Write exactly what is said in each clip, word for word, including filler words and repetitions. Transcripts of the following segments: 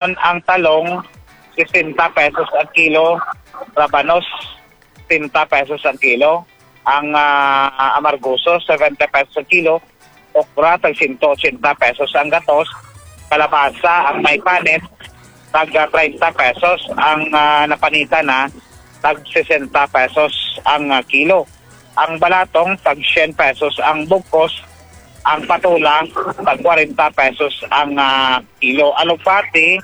Ang talong, sesenta pesos ang kilo. Rabanos, sesenta pesos ang kilo. Ang, ah, amargoso, seventy pesos ang kilo. Okra, tag sento ochenta pesos ang gatos. Kalabasa, ang may panit, tag treinta pesos. Ang, ah, napanita na, tag sesenta pesos ang, ah, kilo. Ang balatong, tag syen pesos ang bugkos. Ang patola, tag kwarenta pesos ang, ah, kilo. Alugbati,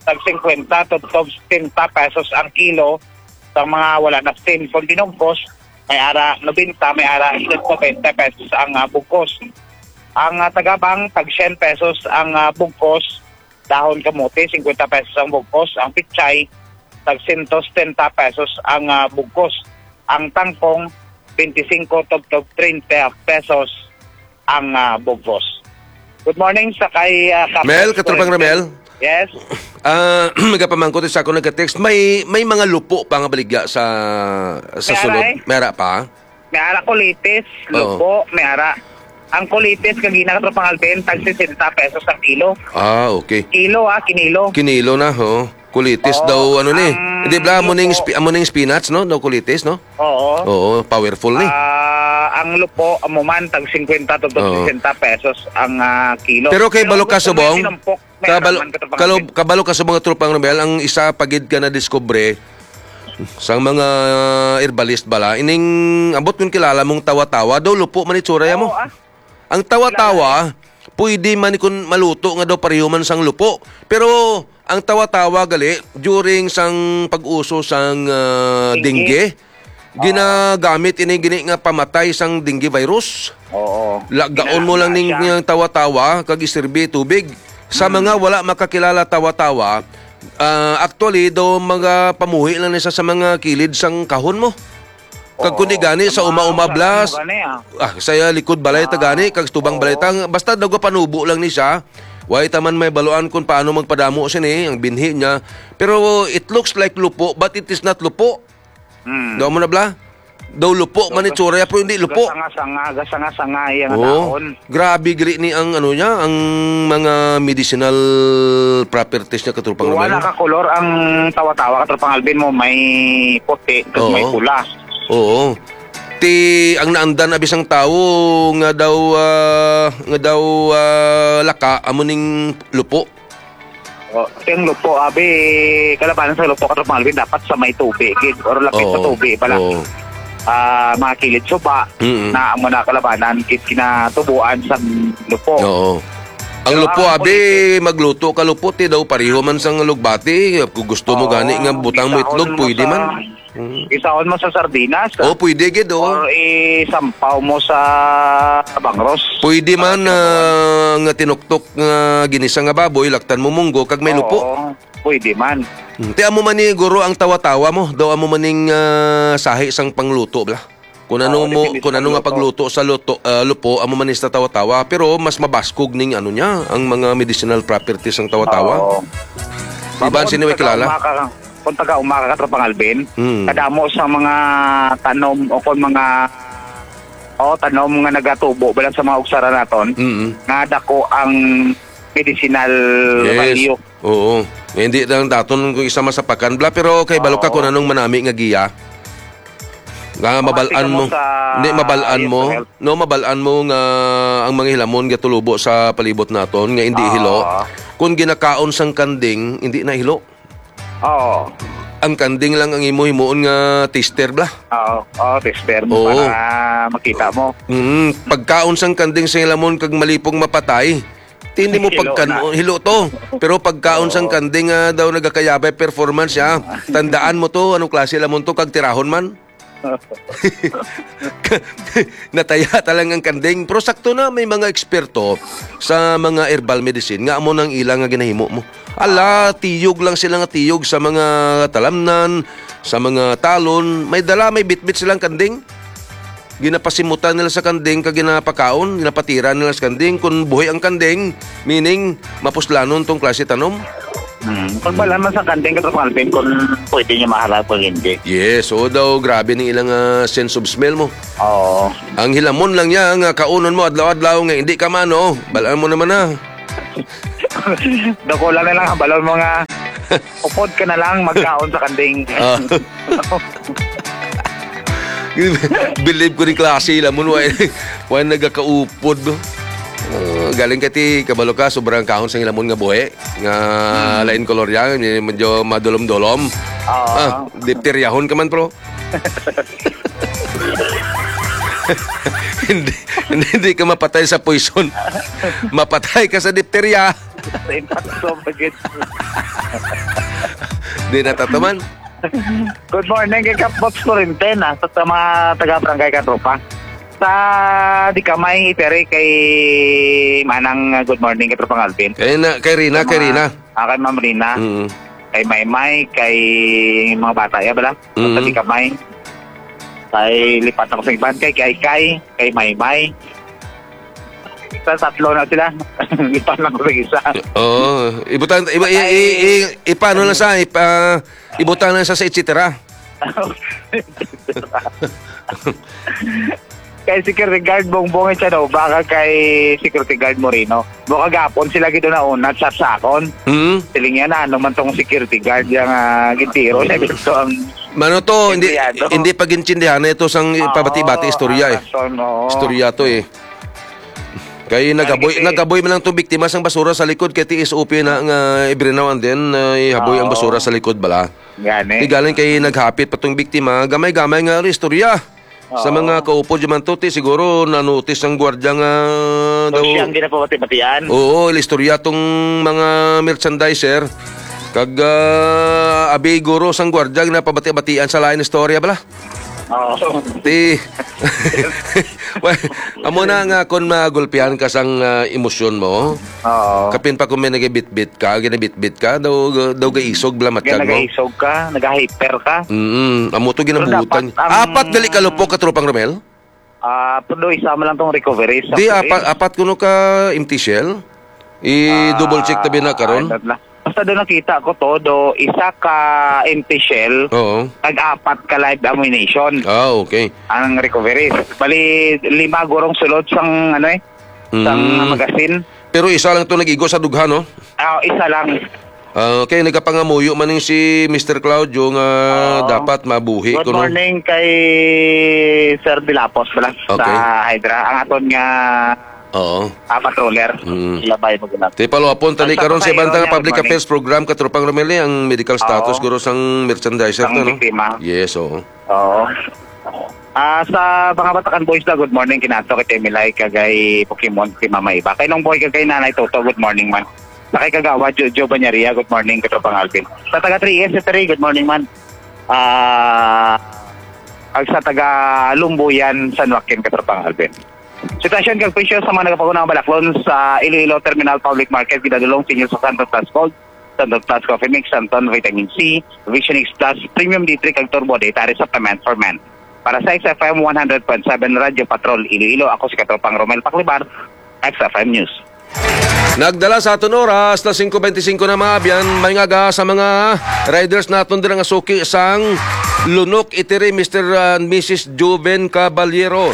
tag singkwenta tubtob setenta pesos ang kilo. Sa mga wala na steam kon binugkos, may ara nobenta, may ara sento bente pesos ang, ah, bugkos. Ang, ah, tagabang, tag syen pesos ang, ah, bugkos. Dahon kamote, singkwenta pesos ang bugkos. Ang pichay, tag sento setenta pesos ang, ah, bugkos. Ang tangkong, bente singko tubtob treinta pesos ang, ah, bugkos. Good morning sa kay, ah, Kap Mel, Katropang Ramel. Yes. Ah, nagapamangkot sa ako nagka-text. May, may mga lupo pa nga baligya sa, sa May ara, sulod. Eh. May ara pa? May ara kulitis, Oo. Lupo, may ara. Ang kulitis, kagina, Katropang Alvin, tag sesenta pesos ang kilo. Ah, okay. Kilo, ah, kinilo. Kinilo na, ho. Kulitis Oo, daw, ano ni? ang Hindi bla, amo ning lupo. Spi-, amo ning spinach, no? Daw kulitis, no? Oo. Oo, powerful ni. Ah, ang lupo, amo man, tag singkwenta to Oo. sesenta pesos ang, ah, kilo. Pero kay Pero balo ka gusto mo subong, yung tinumpok, may kabalo, araman ka to, kabalo, pangapit. Kabalo ka subong, Tropang Romel, ang isa pagid ka na diskubre sang mga herbalist bala, ining abot kung kilala mong tawa-tawa, daw lupo man itsura ya mo. Oo, ah. Ang tawa-tawa, pwede man kun maluto nga daw pareho man sang lupo. Pero ang tawa-tawa gali, during sang pag-uso sang, ah, Dengue. Dengue, Oo. ginagamit ini gini nga pamatay sang dengue virus. Oo. Lagaon mo lang ning, Ginagawa siya. ning tawa-tawa kag isirbi tubig. Sa Mm. mga wala makakilala tawa-tawa, ah, actually, daw mga pamuhi lang ni sa, sa mga kilid sang kahon mo. Kag Oo, kundi gani sa sa mga uma-uma usalan blas, mo gani, ah. ah, sa likod balay ta Ah, gani, kag sa tubang balay oo. ta, basta nagapanubo lang ni siya. Way ta man may baluan kung paano magpadamo sini, ang binhi niya. Pero it looks like lupo, but it is not lupo. Hmm. Daw mo na bla? Daw lupo So, man gas-, itsura, pero hindi lupo. gasanga-sanga, gasanga-sanga iya nga Oo. dahon. Grabe giri ni ang ano niya, ang mga medicinal properties niya, Katropang Wala Romel. ka kolor ang tawa-tawa, Katropang Alvin, mo may puti, kag may Oo. pula. Oo. Ti ang naandan abi sang tawo nga daw, ah, nga daw, ah, laka, amo ning lupo. O, ti ang lupo, abi, kalabanan sa lupo, Katropang Alvin, dapat sa may tubi gid or lapit sa Oo. tubi bala. Oo. Ah, mga kilid suba, Mm-mm. na amo na kalabanan gid kinatubuan sa lupo. Oo. Ang Pero lupo, ang abi, kulitis magluto ka lupo, ti daw pareho man sang lugbati. Kung gusto mo Oo, gani nga butang mo isaon itlog, mo pwede sa, man. Mm. isaon mo sa sardinas, Oh, ah. pwede gid, oh. Or isampaw mo sa bangros. Pwede man, Para ah, nga tinuktok nga ginisa nga baboy, laktan mo munggo, kag may lupo. Oo, pwede man. Hmm. Ti amo man ni, guro, ang tawa-tawa mo. Daw amo man ning, ah, sahi sang pangluto, bla. Kung ano Oo, mo, depende kung sa ano nga pagluto. pagluto sa luto, ah, lupo, amo man ni sa tawa-tawa. Pero mas mabaskog ning ano niya, ang mga medicinal properties sang tawa-tawa. Oo. Di ba, Mao sino may kung taga kilala? uma ka, kung taga uma ka, Katropang Alvin, Hmm. kadamo sa mga tanom o kung mga, o, tanom nga nagatubo bala sa mga ugsara naton, Mm. nga dako ang medicinal Yes. value. Oo. Nga hindi lang daton kung isa masapakan bla, pero kay balo ka Oo. kung anong manami nga giya. Nga Kung mabalaan tingnan mo mo, sa hindi, mabalaan Yes, mo, Sir. no, mabalaan mo nga ang mga hilamon gatulubo sa palibot naton nga hindi Oo. hilo. Kung ginakaon sang kanding, hindi na hilo. Oo. Ang kanding lang ang imo himuon nga tester bla. Oo, oo, tester mo Oo. para makita mo. Mm, pagkaon sang kanding sa hilamon kag malipong mapatay, ti hindi mo Hilo pagkan-, na. hilo to. Pero pagkaon sang Oo. kanding nga daw nagakayabay performance siya, tandaan mo to, anong klase lamon to, kag tirahon man. Nataya ta lang ang kanding. Pero sakto na, may mga eksperto sa mga herbal medicine nga amo nang ila nga ginahimo mo. Ala, tiyog lang sila nga tiyog sa mga talamnan, sa mga talon. May dala, may bitbit silang kanding. Ginapasimutan nila sa kanding kag ginapakaon, ginapatira nila sa kanding. Kung buhi ang kanding, meaning mapuslanon tong klase tanom. Hmm. Pagbalaan man sa kanding, Katropang Alvin, kung pwede niya maharap o hindi. Yes, oo daw, grabe ning ilang, ah, sense of smell mo. Oo. Ang hilamon lang niya nga kaunon mo adlaw-adlaw nga hindi ka maano, balaan mo naman na. Dakulang na lang ang balon mo nga upod ka na lang magkaon sa kanding. Ah. Believe ko ni klase lamon, wa, wa nagakaupod, no? Ah, galing ka ti, kabalo ka, sobrang kahon sa ilamon nga buhi, nga Hmm. lain kolor yan, medyo madulom-dulom. Oo. Ah, dipteryahon ka man, pro. Hindi, hindi, hindi ka mapatay sa poison. Mapatay ka sa dipterya. Sa impakto, bagit. Di na tatuman. Good morning kay Kap Box Corintena, sa, sa mga taga-barangay Katropa. Sa di ka may iteri kay Manang, uh, good morning kay Tropang Alvin. Kay na, kay Rina, Sa kay mga, Rina. Ah, kay Ma'am Rina. Mm. Kay Maymay, kay mga bata, ya, bala? Sa Mm. di ka may. Kay lipat ako sa iban, kay, kay, kay, kay Maymay. Sa tatlo na sila. Lipat lang ko sa isa. Oo. Ibutang, iba, i, i, i, ipano lang sa, ipa, ibutang lang sa, sa et cetera. Kay security guard, Bongbong, siya daw, baka kay security guard Moreno. Mo kagapon sila gid na una, sa sakon. Hmm? Siling niya na, ano man tong security guard, yung, ah, gintiro niya gusto ang Mano to, hindi, empleyado. Hindi pag-intindihan na ito sang Oo, pabati-bati istorya, eh. Ang rason, oo. Istorya to, eh. Kay nagaboy, Kay nagaboy man lang tong biktima sang basura sa likod kay ti S O P na nga every now and then, uh, ihaboy ang Oo. basura sa likod bala. Gani. Di galing kay naghapit pa tong biktima, gamay-gamay nga istorya. Sa Oo. mga kaupod di man to, ti siguro na-notice ang gwardiya nga O daw siyang ginapabati-batian. Oo, ilistorya tong mga merchandiser. Kag, ah, abi guro sang gwardiya ginapabati-batian sa lain istorya bala. Oo. Ti, well, amo na nga kung magulpihan ka sang, ah, emosyon mo, Oo. kapin pa kung may nagabitbit ka, ginabitbit ka, daw, daw gaisog bala Kaya matyag mo. nagaisog ka, nagahyper ka. Mm, amo to Pero ginabutan. dapat ang Apat gali ka lupok, Katropang Romel? Ah, pero do isa man lang tong recovery sa Di, pulis. apat, apat kuno ka empty shell? I-double check tabi na Ah, karon. ano na. Basta do nakita ko to, do isa ka empty shell, Oo. tag-apat ka live ammunition Ah, okay. ang recovery. Bali, lima gurong sulod sang, ano eh, sang Mm. magazine. Pero isa lang to nag-igo sa dughan, no? Ah, isa lang. Ah, okay, nagapangamuyo man ning si Mister Claudio nga Oo. dapat mabuhi Good kuno. morning kay Sir Dilapos pala Okay. sa Hydra. Ang aton nga, Oo. ah, patroller. Mm. Labay mo gina. Ti, paluapon tani Ang sa karon sa ibang pasahero tanga niya, public good morning. affairs program, Katropang Romel, ang medical status Oo. guro sang merchandiser Sang to, no? biktima. Yes, oo. Oo. Ah, sa mga Batakan Boys na, good morning, kinato kay Temilay, kagay Pokemon, kay Mama Iba. Kay Nong Boy, kagay Nanay Toto, good morning man. Sa kay Kagawa, Jo-, Joe Banyaria, good morning, Katropang Alvin. Sa taga three S three, good morning man. Ah, ag sa taga Lumbuyan, San Joaquin, Katropang Alvin. Sitwasyon kag presyo sa mga nagapaguna nga balaklon sa Iloilo Terminal Public Market, ginadulong sa inyo sa Santon Plus Gold, Santon Plus Coffee Mix, Santon Vitamin C, Vision X Plus, Premium D three kag Turbo Dietary Supplement for Men. Para sa X F M one hundred point seven Radyo Patrol Iloilo, ako si Katropang Romel Paclibar, X F M News. Nagdala sa aton oras na singko bente singko na, mga abyan. May nga aga sa mga riders naton dira nga suki sang Lunok Itiri, Mister and Missus Juven Caballero.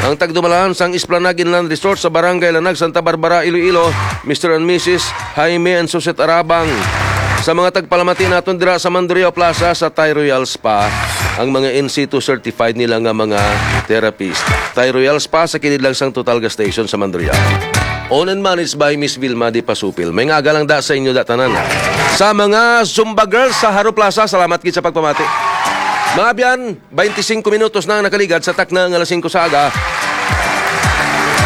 Ang tagdumalahan sang Esplanade Inland Resort sa Barangay Lanag, Santa Barbara, Iloilo, Mister and Missus Jaime and Suset Arabang. Sa mga tagpalamati naton dira sa Mandurriao Plaza sa Thai Royal Spa, ang mga in situ certified nila nga mga therapist. Thai Royal Spa sa kilid lang sang Total Gas Station sa Mandurriao. Owned and managed by Miss Vilma Di Pasupil. May nga aga lang da sa inyo da tanan. Sa mga Zumba Girls sa Jaro Plaza, salamat gid sa pagpamati. Mga abyan, bente singko minutos na ang nakaligad sa takna nga alas singko sa aga.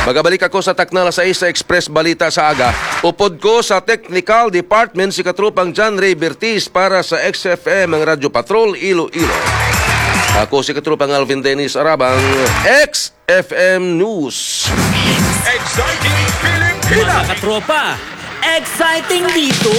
Magabalik ako sa takna alas sais sa Express Balita sa Aga. Upod ko sa Technical Department si Katropang John Ray Bertis para sa X F M, ang Radyo Patrol, Iloilo. Ako si Katropang Alvin Dennis Arabang, X F M News. Exciting Pilipinas! Mga katropa, exciting dito!